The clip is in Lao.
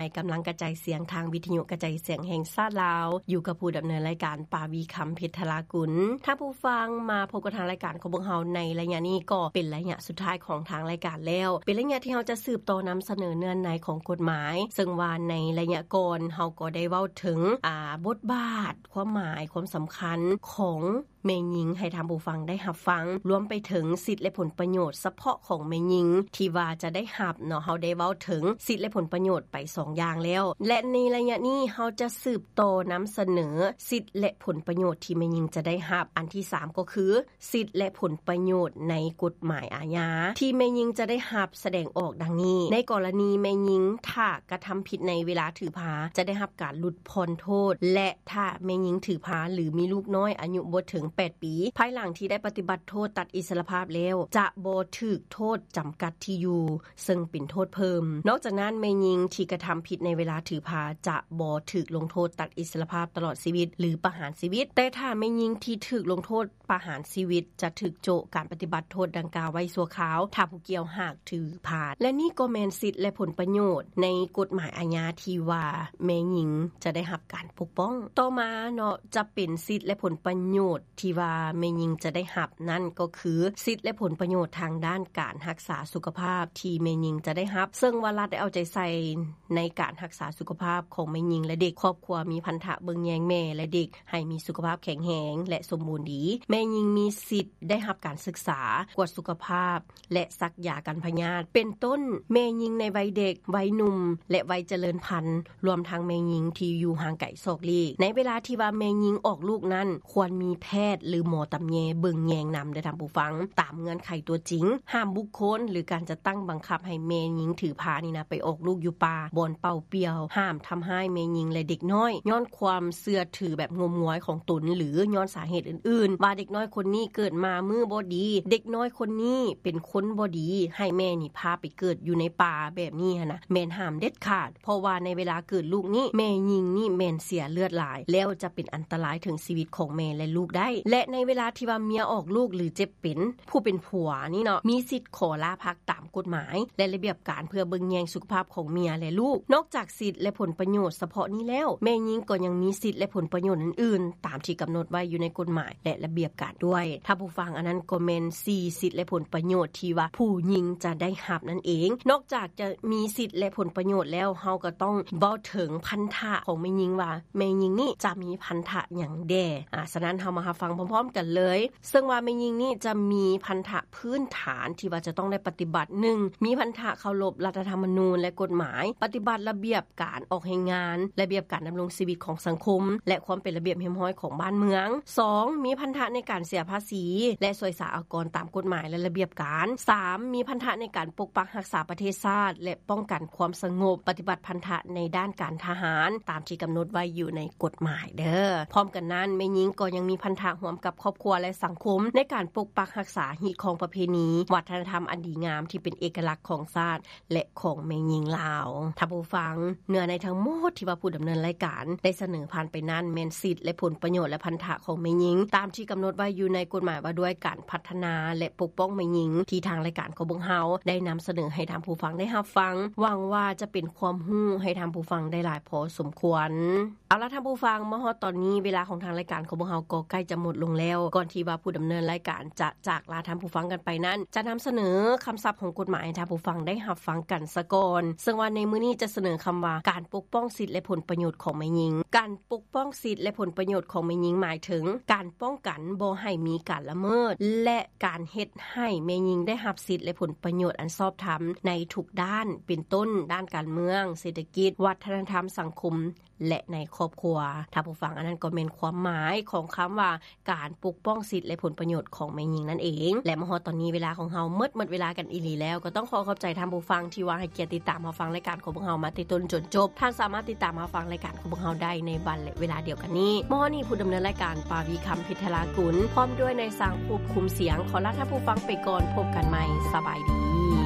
ໃນກຳລັງກະຈາຍສຽງທາງວິທະຍຸກະຈາຍສຽງແຫ່ງຊາດລາວ, ຢູ່ກັບຜູ້ດຳເນີນລາຍການ ປາວີ ຄຳເພັດທະລາກຸນ. ທ່ານຜູ້ຟັງ, ມາພົບກັບທາງລາຍການຂອງພວກເຮົາໃນໄລຍະນີ້ ກໍເປັນໄລຍະສຸດທ້າຍຂອງທາງລາຍການແລ້ວ, ເປັນໄລຍະທີ່ເຮົາຈະສືບຕໍ່ນຳສະເໜີເນື້ອໃນຂອງກົດໝາຍ, ເຊິ່ງວ່າໃນໄລຍະກ່ອນເຮົາກໍໄດ້ເວົ້າເຖິງ ອາ ບົດບາດ, ຄວາມໝາຍ, ຄວາມສຳຄັນຂອງ ແມ່ຍິງໃຫ້ທ່ານຜູ້ຟັງໄດ້ຮັບຟັງ, ລວມໄປເຖິງສິດ ແລະ ຜົນປະໂຫຍດສະເພາະຂອງແມ່ຍິງທີ່ວ່າຈະໄດ້ຮັບເນາະ. ເຮົາໄດ້ເວົ້າເຖິງສິດ ແລະ ຜົນປະໂຫຍດໄປສອງຢ່າງແລ້ວ, ແລະ ໃນໄລຍະນີ້ເຮົາຈະສືບຕໍ່ນຳສະເໜີສິດ ແລະ ຜົນປະໂຫຍດທີ່ແມ່ຍິງຈະໄດ້ຮັບ. ອັນທີສາມກໍຄື ສິດ ແລະ ຜົນປະໂຫຍດໃນກົດໝາຍອາຍາທີ່ແມ່ຍິງຈະໄດ້ຮັບ ສະແດງອອກດັ່ງນີ້. ໃນກໍລະນີແມ່ຍິງ ຖ້າກະທຳຜິດໃນເວລາຖືພາ ຈະໄດ້ຮັບການຫຼຸດຜ່ອນໂທດ ແລະ ຖ້າແມ່ຍິງຖືພາ ຫຼື ມີລູກນ້ອຍອາຍຸບໍ່ເຖິງແປດປີ ພາຍຫຼັງທີ່ໄດ້ປະຕິບັດໂທດຕັດອິດສະຫຼະພາບແລ້ວ ຈະບໍ່ຖືກໂທດຈຳກັດທີ່ຢູ່ ເຊິ່ງເປັນໂທດເພີ່ມ. ນອກຈາກນັ້ນ, ແມ່ຍິງທີ່ກະທຳຜິດໃນເວລາຖືພາ ຈະບໍ່ຖືກລົງໂທດຕັດອິດສະຫຼະພາບຕະຫຼອດຊີວິດ ຫຼື ປະຫານຊີວິດ, ແຕ່ຖ້າແມ່ຍິງທີ່ຖືກລົງໂທດ ປະຫານຊີວິດ ຈະຖືກໂຈະການປະຕິບັດໂທດດັ່ງກ່າວໄວ້ຊົ່ວຄາວ ຖ້າຜູ້ກ່ຽວຫາກຖືພາ. ແລະ ນີ້ກໍແມ່ນສິດ ແລະ ຜົນປະໂຫຍດໃນກົດໝາຍອາຍາທີ່ວ່າແມ່ຍິງຈະໄດ້ຮັບການປົກປ້ອງ. ຕໍ່ມາເນາະ ຈະເປັນສິດ ແລະ ຜົນປະໂຫຍດທີ່ວ່າແມ່ຍິງຈະໄດ້ຮັບນັ້ນ ກໍຄືສິດ ແລະ ຜົນປະໂຫຍດທາງດ້ານການຮັກສາສຸຂະພາບທີ່ແມ່ຍິງຈະໄດ້ຮັບ, ເຊິ່ງວ່າລັດໄດ້ເອົາໃຈໃສ່ ໃນການຮັກສາສຸຂະພາບຂອງແມ່ຍິງ ແລະ ເດັກ. ຄອບຄົວມີພັນທະເບິ່ງແຍງແມ່ ແລະ ເດັກ ໃຫ້ມີສຸຂະພາບແຂງແຮງ ແລະ ສົມບູນດີ. ແມ່ຍິງມີສິດໄດ້ຮັບການສຶກສາ, ກວດສຸຂະພາບ ແລະ ສັກຢາກັນພະຍາດ ເປັນຕົ້ນ ແມ່ຍິງໃນໄວເດັກ, ໄວໜຸ່ມ ແລະ ໄວຈະເລີນພັນ, ລວມທັງແມ່ຍິງທີ່ຢູ່ຫ່າງໄກສອກຫຼີກ. ໃນເວລາທີ່ວ່າແມ່ຍິງອອກລູກນັ້ນ ຄວນມີແພດ ຫຼື ໝໍຕຳແຍເບິ່ງແຍງນຳເດີທ່ານຜູ້ຟັງ, ຕາມເງື່ອນໄຂຕົວຈິງ. ຫ້າມບຸກຄົນ ຫຼື ການຈັດຕັ້ງບັງຄັບໃຫ້ແມ່ຍິງຖືພານີ້ນະ ໄປອອກລູກຢູ່ປ່າ, ບ່ອນເປົ່າປ່ຽວ. ຫ້າມທຳຮ້າຍແມ່ຍິງ ແລະ ເດັກນ້ອຍ ຍ້ອນຄວາມເຊື່ອຖືແບບງົມງວາຍຂອງຕົນ ຫຼື ຍ້ອນສາເຫດອື່ນໆ ວ່າເດັກນ້ອຍຄົນນີ້ເກີດມາມື້ບໍ່ດີ, ເດັກນ້ອຍຄົນນີ້ເປັນຄົນບໍ່ດີ, ໃຫ້ແມ່ນີ້ພາໄປເກີດຢູ່ໃນປ່າແບບນີ້ຫັ້ນນະ ແມ່ນຫ້າມເດັດຂາດ. ເພາະວ່າໃນເວລາເກີດລູກນີ້ ແມ່ຍິງນີ້ແມ່ນເສຍເລືອດຫຼາຍ ແລ້ວຈະເປັນອັນຕະລາຍເຖິງຊີວິດຂອງແມ່ ແລະ ລູກໄດ້. ແລະ ໃນເວລາທີ່ວ່າເມຍອອກລູກ ຫຼື ເຈັບເປັນ, ຜູ້ເປັນຜົວນີ້ເນາະ ມີສິດຂໍລາພັກຕາມກົດໝາຍ ແລະ ລະບຽບການ ເພື່ອເບິ່ງແຍງສຸຂະພາບຂອງເມຍ ແລະ ລູກ. ນອກຈາກສິດ ແລະ ຜົນປະໂຫຍດສະເພາະນີ້ແລ້ວ, ແມ່ຍິງກໍຍັງມີສິດ ແລະ ຜົນປະໂຫຍດອື່ນໆ ຕາມທີ່ກຳນົດໄວ້ຢູ່ໃນກົດໝາຍ ແລະ ລະບຽບການດ້ວຍ. ທ່ານຜູ້ຟັງ, ອັນນັ້ນກໍແມ່ນສີ່ສິດ ແລະ ຜົນປະໂຫຍດທີ່ວ່າຜູ້ຍິງຈະໄດ້ຮັບນັ້ນເອງ. ນອກຈາກຈະມີສິດ ແລະ ຜົນປະໂຫຍດແລ້ວ, ເຮົາກໍຕ້ອງເວົ້າເຖິງພັນທະຂອງແມ່ຍິງວ່າ ແມ່ຍິງນີ້ຈະມີພັນທະຫຍັງແດ່. ອາ ສະນັ້ນເຮົາມາຮັບຟັງພ້ອມໆກັນເລີຍ. ເຊິ່ງວ່າແມ່ຍິງນີ້ຈະມີພັນທະພື້ນຖານທີ່ວ່າຈະຕ້ອງໄດ້ປະຕິບັດ. ໜຶ່ງ, ມີພັນທະເຄົາລົບລັດຖະທຳມະນູນ ແລະ ກົດໝາຍ, ປະຕິບັດລະບຽບ ການອອກແຮງງານ, ລະບຽບການດຳລົງຊີວິດຂອງສັງຄົມ ແລະ ຄວາມເປັນລະບຽບຮຽບຮ້ອຍຂອງບ້ານເມືອງ. ສອງ, ມີພັນທະໃນການເສຍພາສີ ແລະ ສວຍສາອາກອນຕາມກົດໝາຍ ແລະ ລະບຽບການ. ສາມ, ມີພັນທະໃນການປົກປັກຮັກສາປະເທດຊາດ ແລະ ປ້ອງກັນຄວາມສະຫງົບ, ປະຕິບັດພັນທະໃນດ້ານການທະຫານ ຕາມທີ່ກຳນົດໄວ້ຢູ່ໃນກົດໝາຍເດີ. ພ້ອມກັນນັ້ນ, ແມ່ຍິງກໍຍັງມີພັນທະຮ່ວມກັບຄອບຄົວ ແລະ ສັງຄົມ ໃນການປົກປັກຮັກສາຮີດຄອງປະເພນີ, ວັດທະນະທຳອັນດີງາມທີ່ເປັນເອກະລັກຂອງຊາດ ແລະ ຂອງແມ່ຍິງລາວ. ທ່ານຜູ້ຟັງ, ເນື້ອໃນທັງໝົດທີ່ວ່າຜູ້ດຳເນີນລາຍການໄດ້ສະເໜີຜ່ານໄປນັ້ນ ແມ່ນສິດ ແລະ ຜົນປະໂຫຍດ ແລະ ພັນທະຂອງແມ່ຍິງ ຕາມທີ່ກຳນົດໄວ້ຢູ່ໃນກົດໝາຍວ່າດ້ວຍການພັດທະນາ ແລະ ປົກປ້ອງແມ່ຍິງ ທີ່ທາງລາຍການຂອງພວກເຮົາໄດ້ນຳສະເໜີໃຫ້ທ່ານຜູ້ຟັງໄດ້ຮັບຟັງ. ຫວັງວ່າຈະເປັນຄວາມຮູ້ໃຫ້ທ່ານຜູ້ຟັງໄດ້ຫຼາຍພໍສົມຄວນ. ເອົາລະທ່ານຜູ້ຟັງ, ມາຮອດຕອນນີ້ ເວລາຂອງທາງລາຍການຂອງພວກເຮົາກໍໃກ້ຈະໝົດລົງແລ້ວ. ກ່ອນທີ່ວ່າຜູ້ດຳເນີນລາຍການຈະຈາກລາທ່ານຜູ້ຟັງກັນໄປນັ້ນ, ຈະນຳສະເໜີຄຳສັບຂອງກົດໝາຍໃຫ້ທ່ານຜູ້ຟັງໄດ້ຮັບຟັງກັນສາກ່ອນ. ເຊິ່ງວ່າໃນມື້ນີ້ຈະສະເໜີຄຳວ່າ ການປົກປ້ອງສິດ ແລະ ຜົນປະໂຫຍດຂອງແມ່ຍິງ. ການປົກປ້ອງສິດ ແລະ ຜົນປະໂຫຍດຂອງແມ່ຍິງ ໝາຍເຖິງການປ້ອງກັນບໍ່ໃຫ້ມີການລະເມີດ ແລະ ການເຮັດໃຫ້ແມ່ຍິງໄດ້ຮັບສິດ ແລະ ຜົນປະໂຫຍດອັນຊອບທຳໃນທຸກດ້ານ, ເປັນຕົ້ນ ດ້ານການເມືອງ, ເສດຖະກິດ, ວັດທະນະທຳ, ສັງຄົມ ແລະ ໃນຄອບຄົວ. ທ່ານຜູ້ຟັງ, ອັນນັ້ນກໍແມ່ນຄວາມໝາຍຂອງຄຳວ່າ ການປົກປ້ອງສິດ ແລະ ຜົນປະໂຫຍດຂອງແມ່ຍິງນັ້ນເອງ. ແລະ ມາຮອດຕອນນີ້ເວລາຂອງເຮົາໝົດ, ໝົດເວລາກັນອີ່ຫຼີແລ້ວ. ກໍຕ້ອງຂໍຂອບໃຈທ່ານຜູ້ຟັງທີ່ວ່າໃຫ້ກຽດຕິດຕາມຮັບຟັງລາຍການຂອງພວກເຮົາມາແຕ່ຕົ້ນຈົນຈົບ. ທ່ານສາມາດຕິດຕາມຮັບຟັງລາຍການຂອງພວກເຮົາໄດ້ໃນວັນ ແລະ ເວລາດຽວກັນນີ້. ມາຮອດນີ້ ຜູ້ດຳເນີນລາຍການ ປາວີ ຄຳເພັດທະລາກຸນ ພ້ອມດ້ວຍນາຍຊ່າງຄວບຄຸມສຽງ ຂໍລາທ່ານຜູ້ຟັງໄປກ່ອນ. ພົບກັນໃໝ່. ສະບາຍດີ.